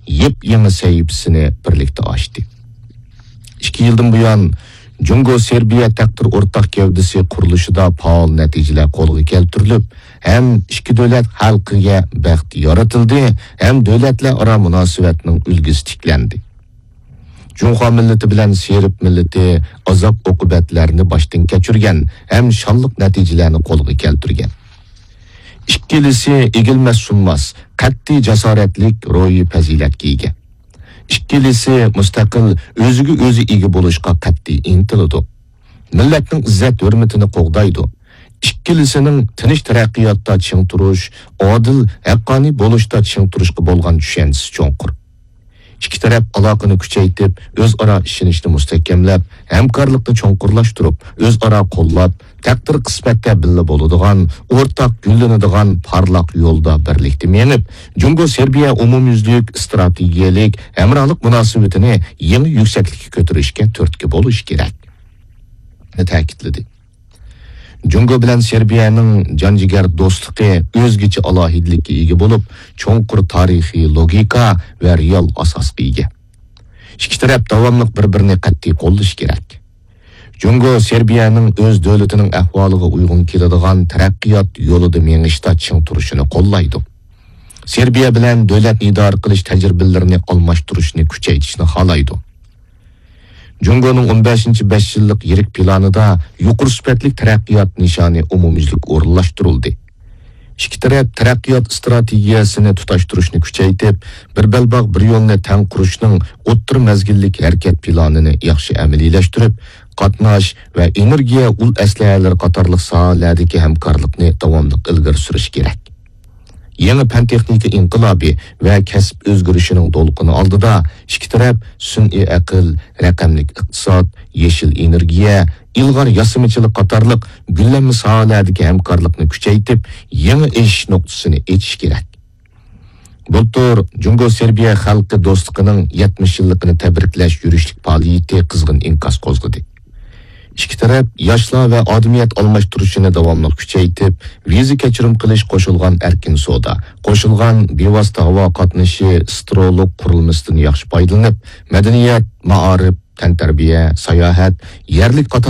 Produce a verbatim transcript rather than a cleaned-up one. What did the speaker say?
يېپيېڭى سەھىپىسىنى بىرلىكتە ئاچتى. ئىككى يىلدىن بۇيان، جۇڭگو سېربىيە تەقدىر ئورتاق گەۋدىسى قۇرۇلۇشىدا پائال نەتىجىلەر قولغا كەلتۈرۈلۈپ، ھەم ئىككى دۆلەت خەلقىگە بەخت يارىتىلدى، ھەم دۆلەتلەر ئارا مۇناسىۋەتنىڭ ئۈلگىسى تىكلەندى. جۇڭخۇا مىللىتى بىلەن سېرب مىللىتى ئازاب-ئوقۇبەتلەرنى باشتىن كەچۈرگەن ھەم شانلىق نەتىجىلەرنى قولغا كەلتۈرگەن. ئىككىلىسى ئېگىلمەس-سۇنماس، قەتئىي جاسارەتلىك روھىي پەزىلەتكە ئىگە. ئىككىلىسى مۇستەقىل، ئۆزىگە ئۆزى ئىگە بولۇشقا قەتئىي ئىنتىلىدۇ. مىللەتنىڭ ئىززەت-ھۆرمىتىنى قوغدايدۇ. ئىككىلىسىنىڭ تىنچ تەرەققىياتتا چىڭ تۇرۇش، ئادىل، ھەققانىي بولۇشتا چىڭ تۇرۇشقا بولغان چۈشەنچىسى چوڭقۇر. ئىككى تەرەپ ئالاقىنى كۈچەيتىپ، ئۆزئارا ئىشىنىشنى مۇستەھكەملەپ، ھەمكارلىقنى چوڭقۇرلاشتۇرۇپ، ئۆزئارا قوللاپ، تەقدىر-قىسمەتتە بىللە بولىدىغان، ئورتاق گۈللىنىدىغان پارلاق يولدا بىرلىكتە مېڭىپ، جۇڭگو-سېربىيە ئومۇميۈزلۈك ئىستراتېگىيەلىك ھەمراھلىق مۇناسىۋىتىنى يېڭى يۈكسەكلىككە كۆتۈرۈشكە تۈرتكە بولۇش كېرەك، تەكىتلىدى. جۇڭگو بىلەن سېربىيەنىڭ جان-جىگەر دوستلۇقى ئۆزگىچە ئالاھىدىلىككە ئىگە بولۇپ، چوڭقۇر تارىخىي لوگىكا ۋە رېئال ئاساسقا ئىگە. ئىككى تەرەپ داۋاملىق بىر-بىرىنى قەتئىي قوللىشى كېرەك. جۇڭگو سېربىيەنىڭ ئۆز دۆلىتىنىڭ ئەھۋالىغا ئۇيغۇن كېلىدىغان تەرەققىيات يولىدا مېڭىشتا چىڭ تۇرۇشىنى قوللايدۇ. سېربىيە بىلەن دۆلەتنى ئىدارە قىلىش تەجرىبىلىرىنى ئالماشتۇرۇشنى كۈچەيتىشنى خالايدۇ. جۇڭگونىڭ ئون بەشىنچى بەش يىللىق يىرىك پىلانىدا يۇقىرى سۈپەتلىك تەرەققىيات نىشانى ئومۇميۈزلۈك ئورۇنلاشتۇرۇلدى. ئىككى تەرەپ تەرەققىيات ئىستراتېگىيەسىنى تۇتاشتۇرۇشنى كۈچەيتىپ، بىر بەلباغ، بىر يولنى تەڭ قۇرۇشنىڭ ئوتتۇرا مەزگىللىك ھەرىكەت پىلانىنى ياخشى ئەمەلىيلەشتۈرۈپ، قاتناش ۋە ئېنېرگىيە ئۇل ئەسلىھەلىرى قاتارلىق ساھەلەردىكى ھەمكارلىقنى داۋاملىق ئىلگىرى سۈرۈش كېرەك. يېڭى پەن-تېخنىكا ئىنقىلابى ۋە كەسىپ ئۆزگىرىشىنىڭ دولقۇنى ئالدىدا ئىككى تەرەپ سۈنئىي ئەقىل، رەقەملىك ئىقتىساد، يېشىل ئېنېرگىيە، ئىلغار ياسىمىچىلىق قاتارلىق گۈللەنمە ساھەلەردىكى ھەمكارلىقنى كۈچەيتىپ، يېڭى ئېشىش نۇقتىسىنى ئېچىش كېرەك. بۇلتۇر جۇڭگو سېربىيە خەلقى دوستلۇقىنىڭ يەتمىش يىللىقىنى تەبرىكلەش يۈرۈشلۈك پائالىيىتى قىزغىن ئىنكاس قوزغىدى. ئىككى تەرەپ ياشلار ۋە ئادىمىيەت ئالماشتۇرۇشىنى داۋاملىق كۈچەيتىپ، ۋىزا كەچۈرۈم قىلىش، قوشۇلغان ئەركىن سودا، قوشۇلغان بىۋاسىتە ھاۋا قاتنىشى، سترولۇق قۇرۇلمىسىدىن ياخشى پايدىلىنىپ، مەدەنىيەت، مائارىپ، تەنتەربىيە، ساياھەت، يەرلىك قاتارلىق